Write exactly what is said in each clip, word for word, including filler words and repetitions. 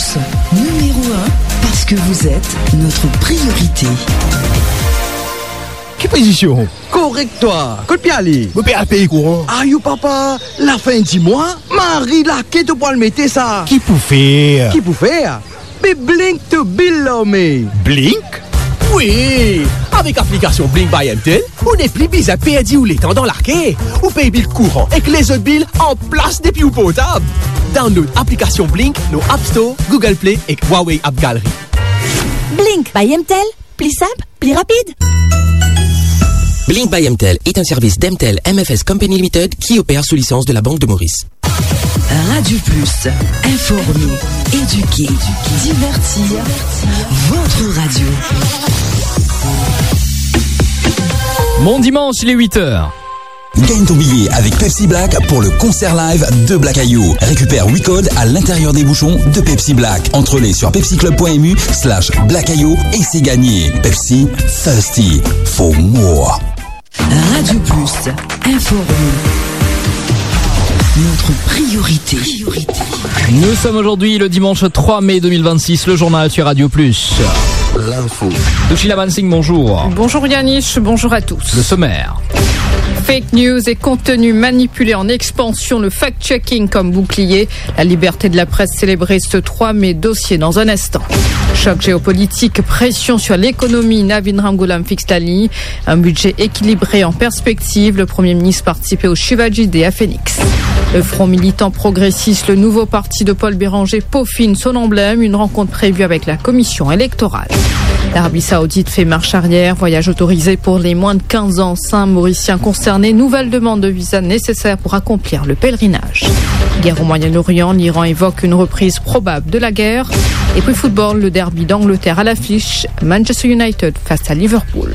Numéro un, parce que vous êtes notre priorité. Ki pozision? Korek twa. Kot pe ale? Mo pe al pey kouran. Ayo papa, lafin di mwa, mari lake to pou al mete sa. Ki pou fer? Ki pou fer? Be Blink to bill lor me. Blink? Wi! Avek aplikasion Blink by M T L, ou nepli bizin perdi ou letan dan lake. Ou pey bil kouran ek lezot bil anplas depi ou portab. Download aplikasion Blink lor App Store, Google Play ek Huawei App Gallery. Blink by M T L, pli sinp, pli rapid. Blink by M T L est un service d'M T L M F S Company Limited qui opère sous licence de la Banque de Maurice. Radio Plus, informer, éduquer, divertir, votre radio. Mon dimanche, il est huit heures. Gagne ton billet avec Pepsi Black pour le concert live de Black Ayou. Récupère huit codes à l'intérieur des bouchons de Pepsi Black. Entre-les sur pepsiclub point M U slash Black Ayou et c'est gagné. Pepsi, thirsty for more. Radio Plus, informer. Notre priorité. Nous sommes aujourd'hui le dimanche trois mai deux mille vingt-six. Le journal sur Radio Plus. L'info. Doushila Mansingh, bonjour. Bonjour Yanis, bonjour à tous. Le sommaire. Fake news et contenu manipulé en expansion, le fact-checking comme bouclier. La liberté de la presse célébrée ce trois mai, dossier dans un instant. Choc géopolitique, pression sur l'économie, Navin Ramgoolam fixe la ligne. Un budget équilibré en perspective, le Premier ministre participait au Shivaji Day à Phoenix. Le Front militant progressiste, le nouveau parti de Paul Bérenger, peaufine son emblème, une rencontre prévue avec la commission électorale. L'Arabie Saoudite fait marche arrière, voyage autorisé pour les moins de quinze ans, cinq Mauriciens concernés, nouvelle demande de visa nécessaire pour accomplir le pèlerinage. Guerre au Moyen-Orient, l'Iran évoque une reprise probable de la guerre. Et puis football, le derby d'Angleterre à l'affiche, Manchester United face à Liverpool.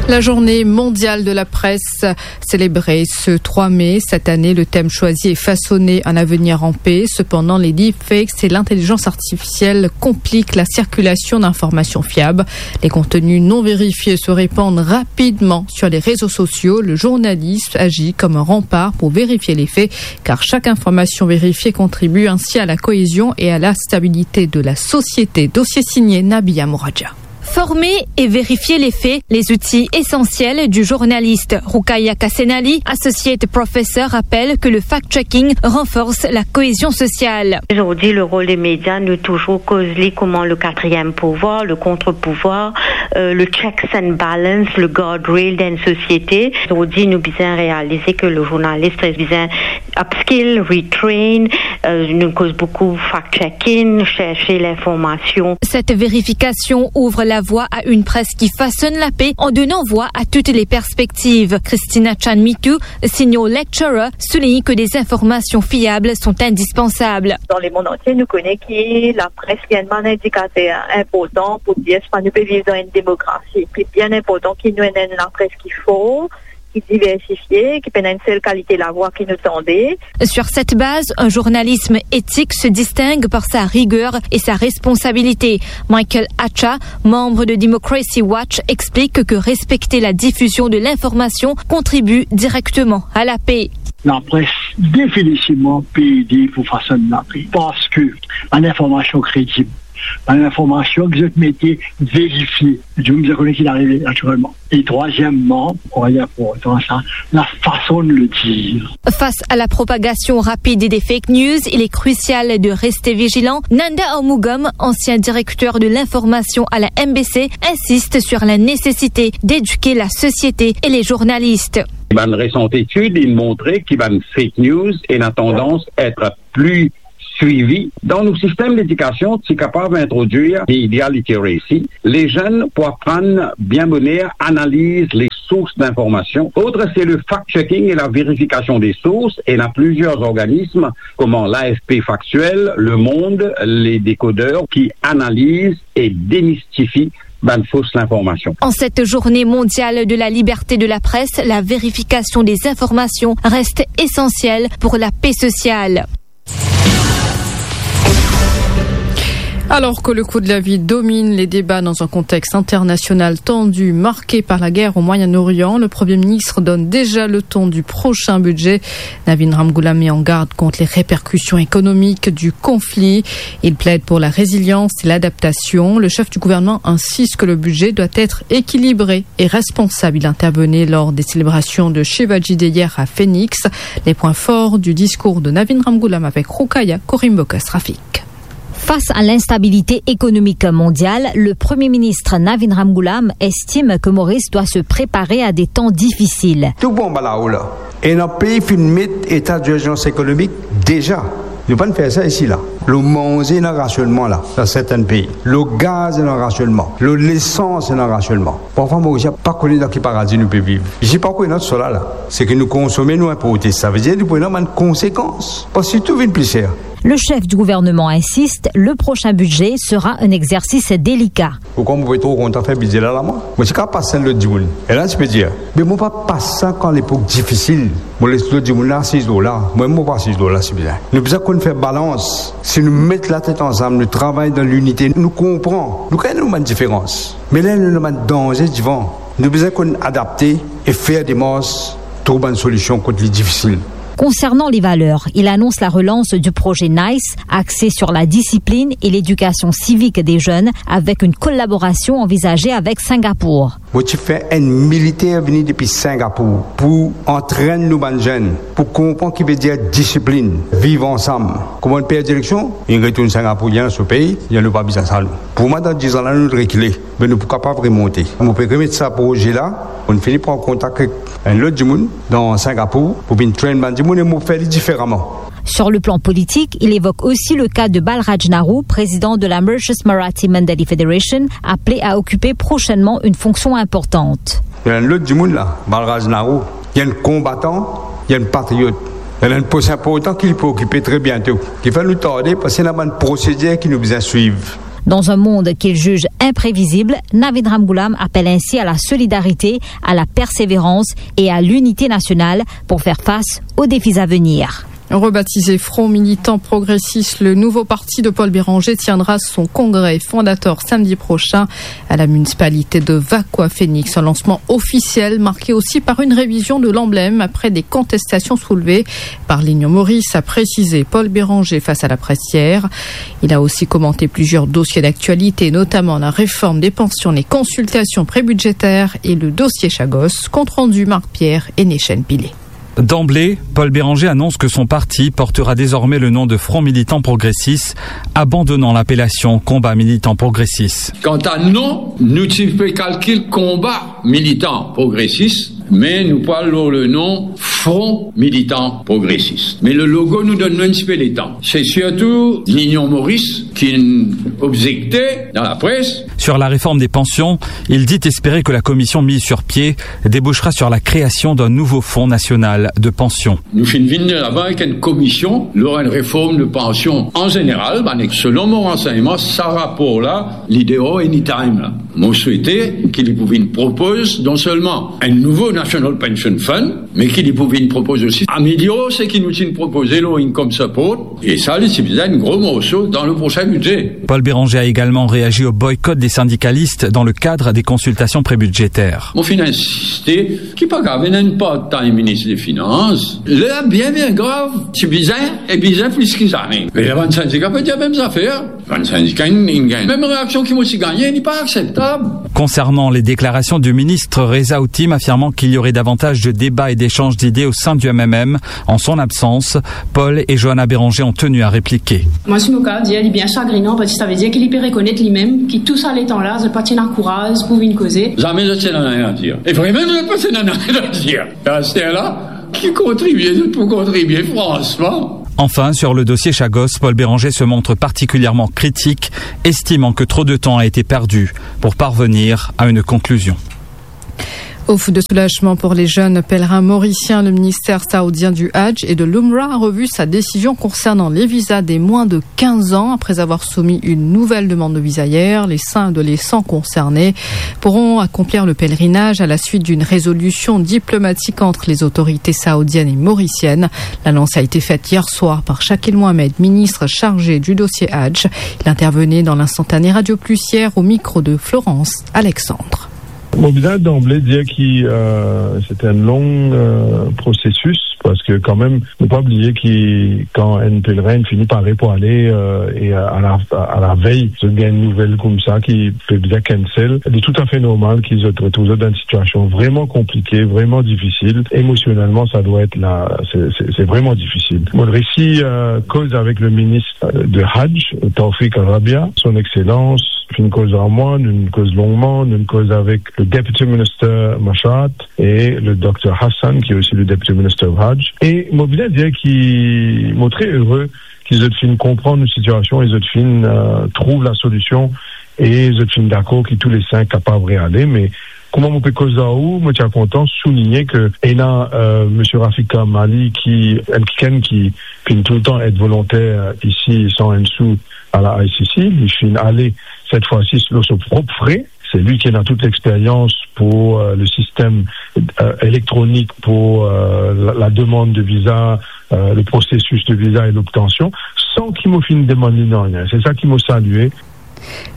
La journée mondiale de la presse célébrée ce trois mai. Cette année, le thème choisi est façonner un avenir en paix. Cependant, les deepfakes et l'intelligence artificielle compliquent la circulation d'informations fiables. Les contenus non vérifiés se répandent rapidement sur les réseaux sociaux. Le journaliste agit comme un rempart pour vérifier les faits, car chaque information vérifiée contribue ainsi à la cohésion et à la stabilité de la société. Dossier signé Nabiha Mouradian. Former et vérifier les faits, les outils essentiels du journaliste. Roukaya Kassenali, associate professor, rappelle que le fact-checking renforce la cohésion sociale. Zordi, le rol de media, nou touzour koz li kouma le katriem pouvwar, le kontrpouvwar, euh, le checks and balance, le guardrail dan enn sosiete. Zordi, nou bizin realize ke le journalis bizin upskill, retrain, euh, nou koz boukou fact-checking, cherche l'information. Cette vérification ouvre la voie à une presse qui façonne la paix en donnant voix à toutes les perspectives. Christina Chanmitu, senior lecturer, souligne que des informations fiables sont indispensables. Dan lemond antie, nou kone ki lapres li enn bann indikater inportan pou dir si nou pe viv dan enn demokrasi. Li bien inportan ki nou ena enn lapres ki for, ki diversifie, ki pena enn sel kalite lavwa ki nou tande. Sur cette base, un journalisme éthique se distingue par sa rigueur et sa responsabilité. Michael Acha, membre de Democracy Watch, explique que respecter la diffusion de l'information contribue directement à la paix. Lapres, definitivman, pe ede pou fasonn lape, parski bann informasion kredib, bann informasion ki zot mete verifie, dimoun bizin kone ki arive natirelman. E trwazieman, mwa, li inportan sa, la fason de le dir. Face à la propagation rapide des fake news, il est crucial de rester vigilant. Nanda Armugam, ancien directeur de l'information à la M B C, insiste sur la nécessité d'éduquer la société et les journalistes. Bann resan etid inn montre ki bann fake news ena tandans et pli swivi. Dan nou sistem ledikasion, ti kapav introdwir media literacy. Lezenn pou aprann bien boner analiz le sours d'information. Autre, c'est le fact-checking et la vérification des sources. Ena plizier zorganism, kouma l'A F P Factuel, Le Monde, les Décodeurs, ki analiz e demistifi bann fos linformasion. En cette journée mondiale de la liberté de la presse, la vérification des informations reste essentielle pour la paix sociale. Alors que le coût de la vie domine les débats dans un contexte international tendu, marqué par la guerre au Moyen-Orient, le Premier ministre donne déjà le ton du prochain budget. Navin Ramgoolam met en garde contre les répercussions économiques du conflit. Il plaide pour la résilience et l'adaptation. Le chef du gouvernement insiste que le budget doit être équilibré et responsable. Il intervenait lors des célébrations de Shivaji Day hier à Phoenix. Les points forts du discours de Navin Ramgoolam avec Roukaya Korimbokas Rafik. Face à l'instabilité économique mondiale, le Premier ministre Navin Ramgoolam estime que Maurice doit se préparer à des temps difficiles. Tou bon, ba lao la. Ena pei finn met eta dirzans ekonomik deza. Nou pa'nn fer sa isi la. Lor manze ena rasionnman la, dan sertin pei. Lor gaz ena rasionnman. Lor lesans ena rasionnman. Parfwa Morisien pa kone dan ki paradi nou pe viv. Isi pa kone ena sa la. Seki nou konsome, nou inporte. Savedir nou pou ena bann konsekans. Parski tou vinn pli ser. Le chef du gouvernement insiste, le prochain budget sera un exercice délicat. Pourkwa mo pe tro kontan fer bidze la, la, mwa? Mo ti kapav pas enn lot dimoun. E la, ti pe dir, me mo pa pas sa kan lepok difisil. Mo les lot dimoun la asiz lor la. Mwa, mo pa asiz lor la, si bizin. Nou bizin konn fer balans. Si nou met latet ansam, nou travay dan linite, nou konpran. Nou gagn nou bann diferans. Me la, nou ena bann danze divan. Nou bizin konn adapte e fer demars, trouv bann solision kot li difisil. Concernant les valeurs, il annonce la relance du projet NICE, axé sur la discipline et l'éducation civique des jeunes, avec une collaboration envisagée avec Singapour. Mo ti fer enn militer vini depi Singapour pou antrenn nou bann zenn, pou konpran ki vedir disiplinn, viv ansam. Kouma nou perd direksion, nou retourn Singapour, li ena so pei, nou pa bizin sa nou. Pou mwa, dan diz an la, nou rekile. Me nou pou kapav remonte. Mo pe remet sa proze la, mo fini pran kontak ek enn lot dimoun dan Singapour pou vinn train bann dimoun e mo fer li diferaman. Sur le plan politique, il évoque aussi le cas de Balraj Nahru, président de la Mauritius Marathi Mandali Federation, appelé à occuper prochainement une fonction importante. Ena enn lot dimoun la, Balraj Nahru, li enn konbatan, li enn patriot. Ena enn pos inportan ki li pou okipe tre biento. Ki fer nou tarde, parski ena bann prosedir ki nou bizin swiv. Dans un monde qu'il juge imprévisible, Navin Ramgoolam appelle ainsi à la solidarité, à la persévérance et à l'unité nationale pour faire face aux défis à venir. Rebaptisé Front Militant Progressiste, le nouveau parti de Paul Bérenger tiendra son congrès fondateur samedi prochain à la municipalité de Vacoas-Phoenix. Un lancement officiel marqué aussi par une révision de l'emblème après des contestations soulevées par l'Union Maurice, a précisé Paul Bérenger face à la presse hier. Il a aussi commenté plusieurs dossiers d'actualité, notamment la réforme des pensions, les consultations prébudgétaires et le dossier Chagos. Compte rendu Marc Pierre et Nechen Pillay. D'emblée, Paul Bérenger annonce que son parti portera désormais le nom de Front Militant Progressiste, abandonnant l'appellation Combat Militant Progressiste. Kanta non, nou ti pe kalkil Combat Militant Progressiste, me nou pou al lor le nom Front Militant Progressiste. Me le logo nou donn nou enn tipe letan. Se sirtou Linion Moris ki obzekte dan lapres. Sur la réforme des pensions, il dit espérer que la commission mise sur pied débouchera sur la création d'un nouveau fonds national de pension. Nou finn vinn laba avek enn komision lor enn reform de pansion an zeneral, bann ek selon mo ransegnman, sa rapor la, li deor anytime la. Mo swete ki li pou vinn propoz non selman enn nouvo National Pension Fund, me ki li pou vinn propoz osi amelior seki nou ti propoze lor income support, e sa, li ti bizin enn gro morso dan le prosin bidze. Paul Bérenger a également réagi au boycott des syndicalistes dans le cadre des consultations prébudgétaires. Mo finn insiste ki pa kav ena enn part-time minis de finans. Ler bien, bien grav, ti bizin, e bizin plis ki zame. Me bann sindika pe dir mem zafer. Bann sindika, inn, inn gagn mem reaksion ki mo ti gagne, li pa akseptab. Concernant les déclarations du ministre Reza Ottim affirmant qu'il y aurait davantage de débats et d'échanges d'idées au sein du M M M en son absence, Paul et Johanna Bérenger ont tenu à répliquer. Mwa, si mo kav dir, li bien sagrinan, parski sa vedir ki li pe rekonet limem ki tou sa letan la, zot pa ti ena kouraz pou vinn koze. Zame zot ti ena nanye a dir. E vremem, zot pa ti ena nanye a dir. Aster la, ki kontribie, zot pou kontribie, fransman. Enfin, sur le dossier Chagos, Paul Bérenger se montre particulièrement critique, estimant que trop de temps a été perdu pour parvenir à une conclusion. Ouf de soulagement pour les jeunes pèlerins mauriciens. Le ministère saoudien du Hajj et de l'Umrah a revu sa décision concernant les visas des moins de quinze ans. Après avoir soumis une nouvelle demande de visa hier, les cinq adolescents concernés pourront accomplir le pèlerinage à la suite d'une résolution diplomatique entre les autorités saoudiennes et mauriciennes. L'annonce a été faite hier soir par Shakil Mohamed, ministre chargé du dossier Hajj. Il intervenait dans l'instantané Radio Plus hier au micro de Florence Alexandre. Mo bizin danble dir ki, euh, se enn long, euh, prosesis, parski kanmem, nou pa bliye ki kan enn pelerin fini pare pou ale, euh, e a la, a la vey, zot gagn enn nouvel koumsa ki pe bizin cancel, li toutafe normal ki zot retrouv zot dan enn sitiasion vreman konplike, vreman difisil. Emosionelman, sa dwa et la, se, se, se vreman difisil. Mo resi, euh, koz avek le minis, euh, de Hajj, Tawfiq Al-Rabia, son exselans, finn koz ar mwa, nou koz longman, nou koz avek le Deputy Minister Mashat e le Dokter Hassan, ki osi le Deputy Minister of Hajj. E mo bizin dir ki mo tre ere ki zot finn konpran nou sitiasion e zot finn, euh, trouv la solision e zot finn dakor ki tou le sink kapav reale. Me kouma mo pe koz ar ou, mo ti a kontan souligne ke ena, euh, Misie Rafik Kamali ki, enn kikenn ki finn toultan et volonter isi san enn sou a la I C C, li finn ale set fwa si lor so prop fre. Se li ki ena tout lexperyans pou, euh, le sistem, euh, elektronik pou, euh, la, la demann de viza, euh, le prosesis de viza e lobtansion, san ki mo finn demann li nanye. Se sa ki mo salie.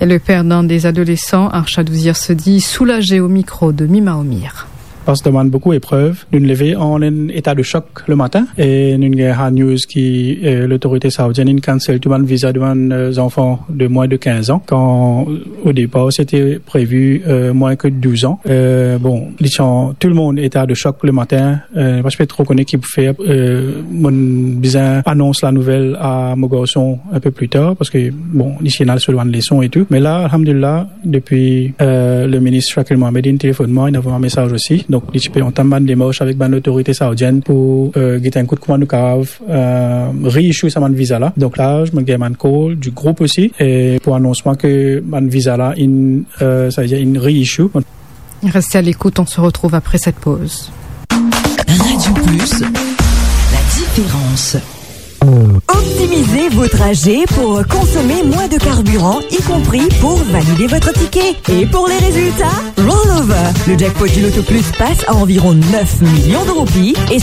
Et le père d'un des adolescents, Arshad Ouzir, se dit soulagé au micro de Mima Omir. Parski demann boukou eprev, nou leve an enn eta de shok le matin e nou gagn hard news ki, euh, lotorite saoudienn inn cancel tou bann viza de bann, euh, zanfan de mwin de kinz an, kan o depar sete previ, euh, mwin ke douz an. Euh, bon, li ti an tou lemonn eta de shok le matin, euh, pa ti pe tro kone ki pou fer, euh, mo'nn bizin anons la nouvel a mo garson enn pe pli tar, parski, bon, li ti ena so bann leson e tou. Me la, alhamdulillah, depi, euh, le minis Shakil Mohamed inn telefonn mwa, inn avoy mwa mesaz osi. Donk, li ti pe antam bann demars avek bann lotorite saoudienn pou, euh, get enn kout kouma nou kapav, euh, reissue sa bann viza la. Donk la, mo gagn bann call du group osi, e pou anons mwa ke bann viza la inn, euh, savedir inn reissue. Restez à l'écoute, on se retrouve après cette pause. Radio Plus, la différence. Optimisez vos trajets pour consommer moins de carburant, y compris pour valider votre ticket. Et pour les résultats, rollover. Le jackpot du Loto Plus passe à environ neuf millions de roupies et